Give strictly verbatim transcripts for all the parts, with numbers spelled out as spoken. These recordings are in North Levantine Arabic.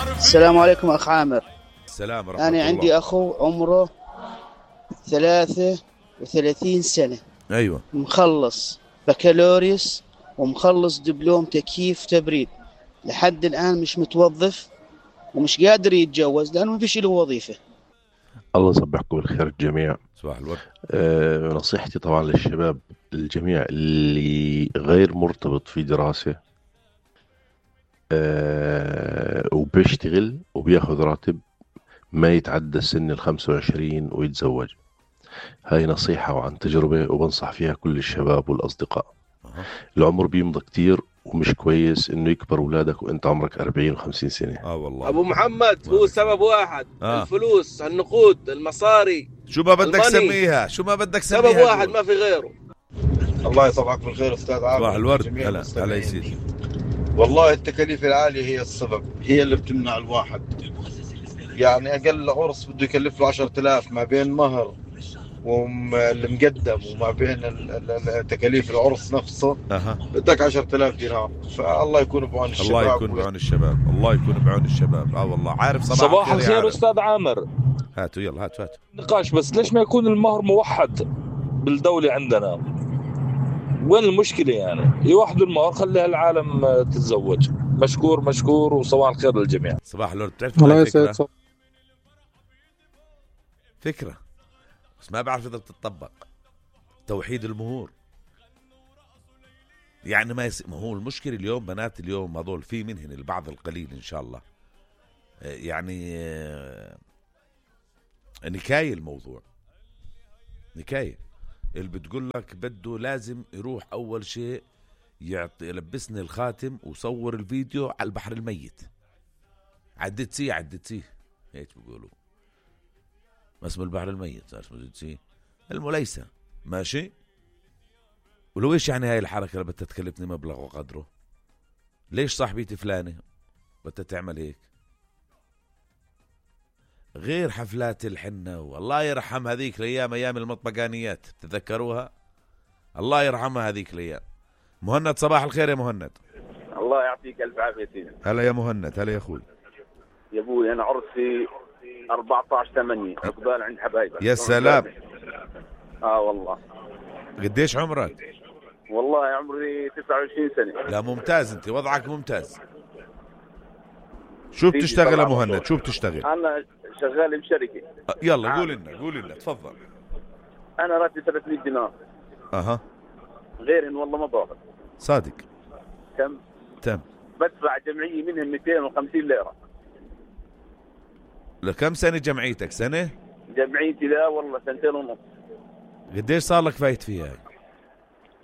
السلام عليكم أخ عامر. السلام ورحمة أنا الله. عندي أخو عمره ثلاثة وثلاثين سنة. أيوة. مخلص بكالوريوس ومخلص دبلوم تكييف تبريد، لحد الآن مش متوظف ومش قادر يتجوز لأنه ما فيش له وظيفة. الله يصبحكم بالخير الجميع. صباح الورد. أه نصيحتي طبعا للشباب الجميع اللي غير مرتبط في دراسة أه وبيشتغل وبياخذ راتب ما يتعدى سن الخمسة وعشرين ويتزوج. هاي نصيحة وعن تجربة وبنصح فيها كل الشباب والأصدقاء. أه. العمر بيمضى كتير ومش كويس إنه يكبر أولادك وإنت عمرك أربعين وخمسين سنة. آه والله. أبو محمد هو سبب واحد. آه. الفلوس، النقود، المصاري. شو ما بدك سميها، شو ما بدك سميها. سبب واحد ما في غيره. الله يصبحك بالخير أستاذ عامر. صباح الورد. هلا هلا يا سيدي. والله التكاليف العالية هي السبب، هي اللي بتمنع الواحد. يعني أقل عرس بده يكلف له عشرة آلاف ما بين مهر والمقدم وما بين تكاليف العرس نفسه. أها. بدك عشرة آلاف دينار. فالله يكون بعون الشباب. الله يكون بعون الشباب. الله يكون بعون الشباب. اه والله. عارف صباح, صباح الخير أستاذ عامر. هاتوا يلا هاتوا هاتوا نقاش بس ليش ما يكون المهر موحد بالدولة عندنا؟ وين المشكلة يعني؟ يوحدوا المهر خليها العالم تتزوج. مشكور مشكور وصباح الخير للجميع. صباح الورد. بتعرف هاي فكرة فكرة بس ما بعرف إذا بتطبق. توحيد المهور يعني ما يس... ما هو المشكلة اليوم بنات اليوم هذول في منهن البعض القليل إن شاء الله يعني نكاية الموضوع نكاية اللي بتقول لك بده لازم يروح أول شيء يعطي يلبسني الخاتم وصور الفيديو على البحر الميت. عدت سي عدت سي هيك بيقولوا ما اسم البحر الميت صار اسمه سي المليسة ماشي. ولو ايش يعني هاي الحركة اللي بدها تكلفني مبلغ وقدره؟ ليش صاحبتي فلانة بدها تعمل هيك؟ غير حفلات الحنة والله يرحم هذيك الأيام أيام المطبقانيات تذكروها؟ الله يرحمها هذيك الأيام. مهند صباح الخير يا مهند. الله يعطيك ألف عافية سيدي. هلا يا مهند. هلا يا أخوي. يا أبوي أنا عرسي أربعة عشر ثمانية عقبال عند حبايبي. يا سلام. آه والله. قديش عمرك؟ والله عمري تسعة وعشرين سنة. لا ممتاز أنت وضعك ممتاز. شو بتشتغل يا مهند؟ شو بتشتغل؟ أنا شغال بشركة. يلا قول لنا قول لنا تفضل. أنا راتبي ثلاثمية دينار. أها. غير إن والله ما باخذ. صادق. كم؟ تم. بدفع جمعية منهم مئتين وخمسين ليرة. لكم سنة جمعيتك؟ سنة؟ جمعيتي لا والله سنتين ونص. قديش صار لك فايت فيها؟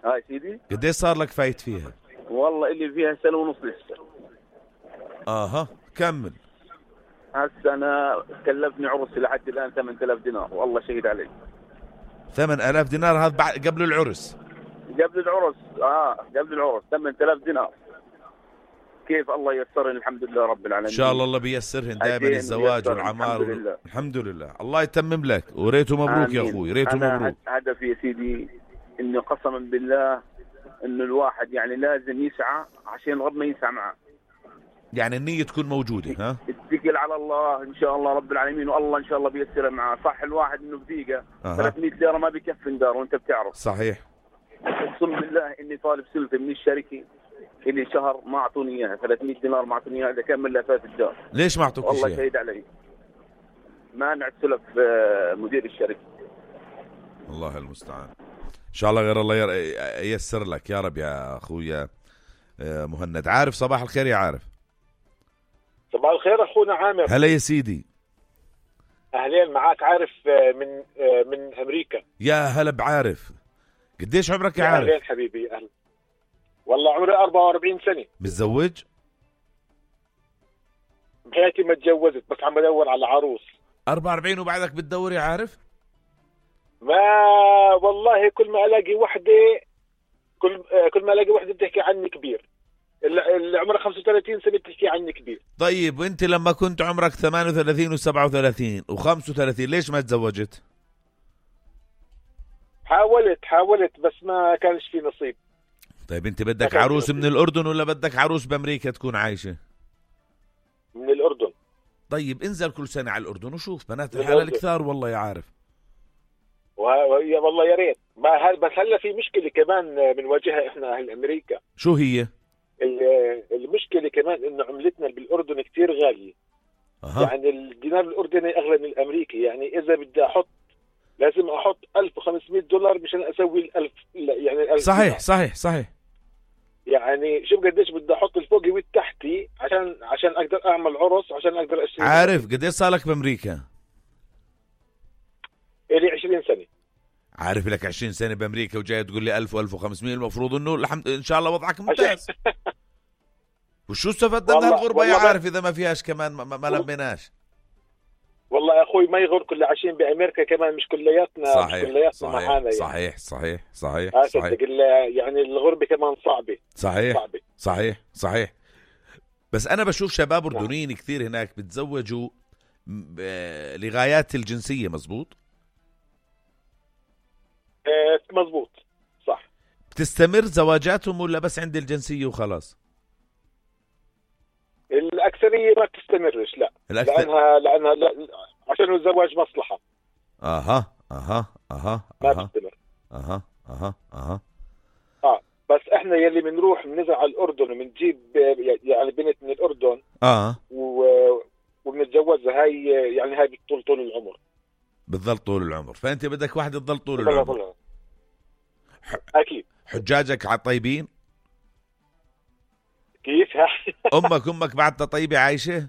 هاي سيدي؟ قديش صار لك فايت فيها؟ والله اللي فيها سنة ونص لسه. اها كمل. هسه انا كلفني عرسي لحد الان ثمانية آلاف دينار والله شهيد علي. ثمانية آلاف دينار هذا بعد قبل العرس؟ قبل العرس اه قبل العرس ثمانية آلاف دينار. كيف الله ييسرهن الحمد لله رب العالمين. ان شاء الله الله بيسرهن دائما الزواج والعمار. الحمد لله. الحمد لله الله يتمم لك وريته مبروك آمين. يا اخوي ريته مبروك. هدفي يا سيدي انه قسما بالله انه الواحد يعني لازم يسعى عشان ربنا يسعى معه. يعني النية تكون موجودة ها؟ اتكل على الله ان شاء الله رب العالمين والله ان شاء الله بيسرها معه. صح الواحد انه بدقيقة أه. ثلاثمية ليرة ما بيكفي دار وانت بتعرف. صحيح. اقسم بالله اني طالب سلفة من الشركة اللي شهر ما اعطوني اياها ثلاثمية دينار ما اعطوني اياها اذا كان من لفات الدار. ليش ما اعطوك والله شهيد علي. مانع سلف مدير الشركة. الله المستعان. ان شاء الله غير الله ييسر لك يا رب يا اخويا مهند. عارف صباح الخير يا عارف. صباح الخير اخونا عامر. هلا يا سيدي. اهلين معاك عارف من من امريكا. يا هلا بعارف. قديش عمرك يا عارف؟ اهلين حبيبي. اهلا. والله عمري أربعة وأربعين سنة. متزوج؟ بحياتي ما تجوزت بس عم بدور على عروس. أربعة وأربعين وبعدك بتدور يا عارف؟ ما والله كل ما الاقي وحده كل كل ما الاقي وحده بتحكي عني كبير. اللي عمرها خمسة وثلاثين سنة بتحكي عني كبير. طيب وانت لما كنت عمرك ثمانية وثلاثين وسبعة وثلاثين وخمسة وثلاثين ليش ما تزوجت؟ حاولت حاولت بس ما كانش في نصيب. طيب انت بدك عروس من الأردن ولا بدك عروس بأمريكا تكون عايشة؟ من الأردن. طيب انزل كل سنة على الأردن وشوف بنات الحلال كثار والله يا عارف. ويا والله يا ريت ما هل بس هلا في مشكله كمان بنواجهها احنا اهل امريكا. شو هي؟ المشكله كمان انه عملتنا بالاردن كتير غاليه. أه. يعني الدينار الاردني اغلى من الامريكي، يعني اذا بدي احط لازم احط ألف وخمسمية دولار مشان اسوي الألف يعني الألف صحيح دينار. صحيح صحيح. يعني شوف قديش بدي احط الفوقي والتحتي عشان عشان اقدر اعمل عرس، عشان اقدر اشتري. عارف قديش صار لك بامريكا؟ الي عشرين سنة. عارف لك عشرين سنة بامريكا وجاي تقول لي ألف وألف وخمسمية، المفروض انه الحمد ان شاء الله وضعك ممتاز. وشو استفدنا من الغربة يا عارف اذا ما فيهاش كمان ما, ما لميناش. والله يا اخوي ما يغر كل عايشين بامريكا كمان مش كلياتنا. صحيح مش كلياتنا صحيح معانا يعني. صحيح صحيح صحيح آه صحيح. يعني الغربة كمان صعبة. صحيح صعبة. صحيح صحيح. بس انا بشوف شباب اردنيين نعم. كثير هناك بتزوجوا لغايات الجنسية. مزبوط آه مزبوط صح. بتستمر زواجاتهم ولا بس عند الجنسية وخلاص؟ الأكثرية ما بتستمرش لا. الأكثر... لأنها لأنها لا... عشان الزواج مصلحة. أها أها أها ما بتستمر. أها أها أها آه بس إحنا يلي بنروح بنزرع على الأردن وبنجيب يعني بنت من الأردن آه و... وبنتجوزها هاي يعني هاي بتطول طول العمر. بتظل طول العمر. فأنت بدك واحدة تظل طول العمر. طول. أكيد. حجاجك على طيبين؟ كيف؟ أمك أمك بعدها طيبة عايشة؟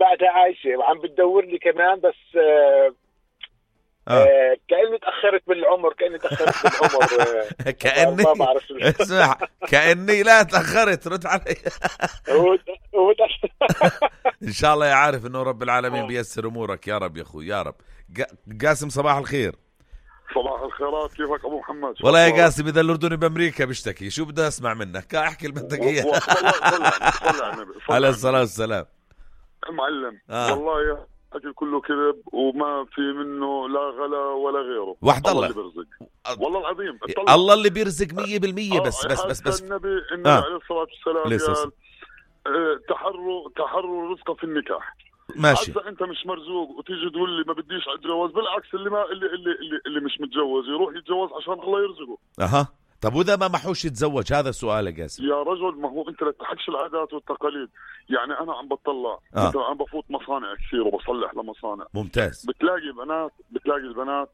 بعدها عايشة وعم بتدور لي كمان بس آه آه. آه كأني تأخرت بالعمر كأني تأخرت بالعمر آه كأني ما بعرف اسمع كأني لا تأخرت رد علي. إن شاء الله يا عارف إنه رب العالمين بيسر أمورك يا رب يا أخوي يا رب. قاسم صباح الخير. صباح الخيرات كيفك أبو محمد؟ والله يا قاسم إذا الأردني بأمريكا بيشتكي شو بدي أسمع منك؟ احكي اللي بدك إياه. عليه الصلاة والسلام. معلم آه. والله يا أكل كله كذب وما في منه لا غلا ولا غيره. وحد الله, الله اللي بيرزق. والله العظيم الله اللي بيرزق مية بالمية. بس بس بس بس النبي النبي آه. عليه الصلاة والسلام قال اه تحروا تحروا الرزق في النكاح. ماشي. إذا أنت مش مرزوق وتيجي تقول لي ما بديش أتجوز، بالعكس اللي ما اللي اللي اللي, اللي مش متجوز يروح يتجوز عشان الله يرزقه. أها طب وإذا ما محوش يتزوج؟ هذا السؤال يا قاسم. يا رجل ما هو أنت لا تحكش العادات والتقاليد. يعني أنا عم بطلع آه. أنت عم بفوت مصانع كثير وبصلح لمصانع. ممتاز. بتلاقي بنات بتلاقي البنات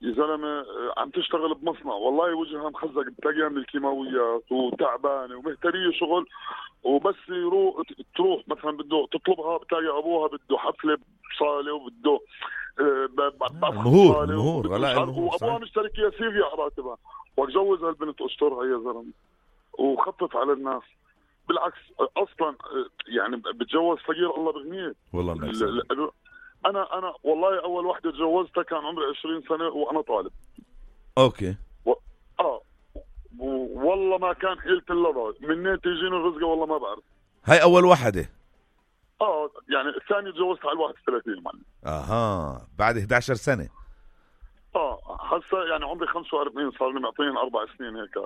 يا زلمه عم تشتغل بمصنع والله وجهها مخزق، بتلاقيها من الكيماويات وتعبانه ومهتريه شغل، وبس يروح تروح مثلا بده تطلبها بتلاقي ابوها بده حفله بصاله وبده مهور مهور وابوها مشترك يسير على راتبها. واتجوز هالبنت استرها يا زلمه وخطت على الناس. بالعكس اصلا يعني بتجوز فقير الله بغنيه والله. انا انا والله اول وحده تجوزتها كان عمري عشرين سنه وانا طالب. اوكي. و... اه والله ما كان حيلة اللظى منين تيجيني الرزقه والله ما بعرف. هاي اول وحده. اه يعني الثانيه تجوزتها على واحد وثلاثين معلم. اها بعد إحدى عشرة سنه. اه هسه يعني عمري خمسة وأربعين صار لي معطيني اربع سنين هيك.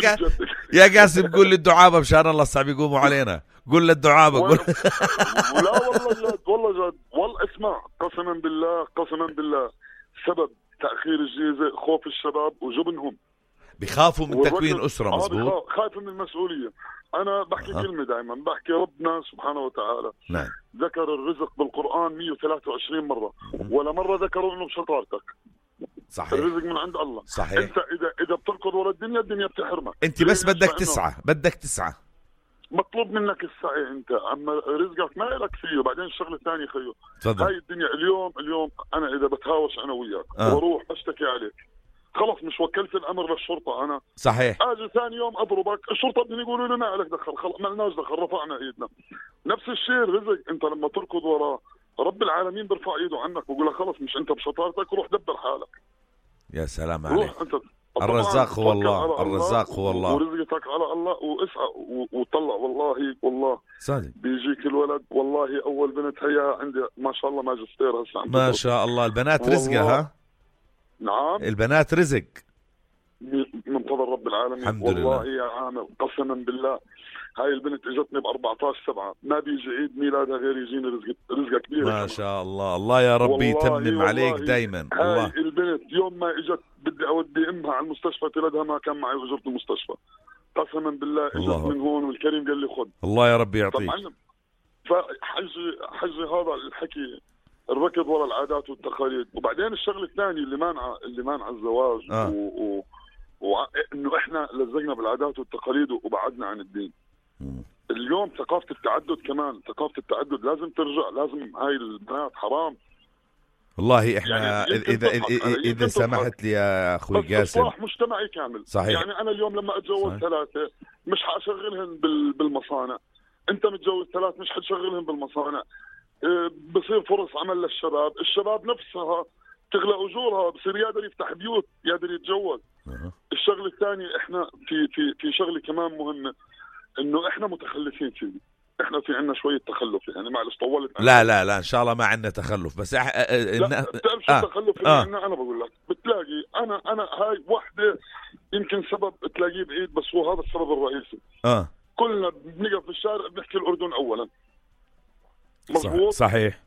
يا, يا قاسم قول للدعابه مشان الله صعب يقوموا علينا. قول للدعابه قول. لا والله جد والله جد والله اسمع قسما بالله قسما بالله سبب تاخير الجيزه خوف الشباب وجبنهم. بخافوا من تكوين اسره. مزبوط. خايف من المسؤوليه. انا بحكي أه. كلمه دائما بحكي ربنا سبحانه وتعالى نعم. ذكر الرزق بالقران مية وثلاثة وعشرين مره ولا مره ذكروا انه بشطارتك. صحيح. الرزق من عند الله. صحيح. انت اذا اذا بتركض ورا الدنيا الدنيا بتحرمك. انت بس بدك تسعى بدك تسعى مطلوب منك السعي انت، اما رزقك ما لك فيه. وبعدين الشغله الثانيه خيو تفضل. هاي الدنيا اليوم اليوم انا اذا بتهاوش انا وياك آه. واروح اشتكي عليك خلص مش وكلت الامر للشرطه انا. صحيح. اجي ثاني يوم اضربك الشرطه بدهم يقولوا لي ما عليك دخل خلص ما لناش دخل رفعنا ايدنا. نفس الشيء الرزق انت لما تركض وراه رب العالمين بيرفع ايده عنك ويقول لك خلص مش انت بشطارتك روح دبر حالك. يا سلام عليك. روح انت الرزاق هو الله. الرزاق هو الله ورزقك على الله واسعى وطلع والله والله صادق بيجيك الولد. والله اول بنت هي عندي ما شاء الله ماجستير هسه ما شاء الله. البنات رزقها. نعم البنات رزق. من فضل رب العالمين. الحمد والله لله. يا عامر قسما بالله هاي البنت اجتني ب أربعة عشر سبعة، ما بيجي عيد ميلادها غير يجيني رزق رزقها كبير. ما شاء الله. الله يا ربي يتمم عليك دايما. هاي الله. البنت يوم ما اجت بدي اودي امها على المستشفى تلدها ما كان معي اجرة المستشفى، قسما بالله اجت الله. من هون والكريم قال لي خذ. الله يا ربي يعطيك. فحجي حجي هذا الحكي الركض ورا العادات والتقاليد. وبعدين الشغله الثانيه اللي مانعه اللي مانعه الزواج آه. و... و... وانه احنا لزقنا بالعادات والتقاليد وبعدنا عن الدين. م. اليوم ثقافه التعدد كمان، ثقافه التعدد لازم ترجع، لازم هاي البنات حرام. والله احنا يعني اذا اذا, إذا سمحت لي يا اخوي قاسم، اصلاح مجتمعي كامل. صحيح. يعني انا اليوم لما اتجوز ثلاثه مش حاشغلهم بال... بالمصانع، انت متجوز ثلاث مش حتشغلهم بالمصانع. اه بصير فرص عمل للشباب، الشباب نفسها تغلى اجورها، بصير يقدر يفتح بيوت، يقدر يتجوز. أه. الشغله الثانيه احنا في في في شغله كمان مهمه، انه احنا متخلفين فيه، احنا في عندنا شويه تخلف. يعني معلش طولت. لا لا لا ان شاء الله ما عندنا تخلف، بس أح... لا بتعرف شو التخلف اللي عندنا؟ انا بقول لك بتلاقي انا انا هاي وحده يمكن سبب تلاقيه بعيد، بس هو هذا السبب الرئيسي. اه كلنا بنقف في الشارع بنحكي الاردن اولا، مظبوط؟ صحيح.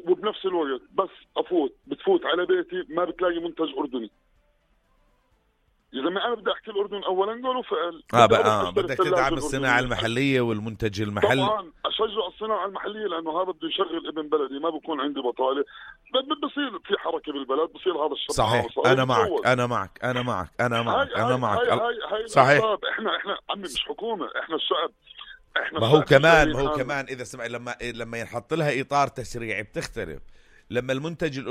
وبنفس الوقت بس افوت بتفوت على بيتي ما بتلاقي منتج اردني. يا زلمه انا بدي احكي الاردن اولا قولوا فعل. اه بقى آه بدك تدعم الصناعه المحليه والمنتج المحلي. طبعا اشجع الصناعه المحليه لانه هذا بده يشغل ابن بلدي، ما بكون عندي بطاله، بصير في حركه بالبلد، بصير هذا الشباب. صحيح. انا معك انا معك انا معك انا معك انا معك هاي هاي هاي صحيح. احنا احنا عمي مش حكومه، احنا الشعب. ما هو كمان ما هو كمان اذا سمع لما لما ينحط لها اطار تشريعي بتختلف. لما المنتج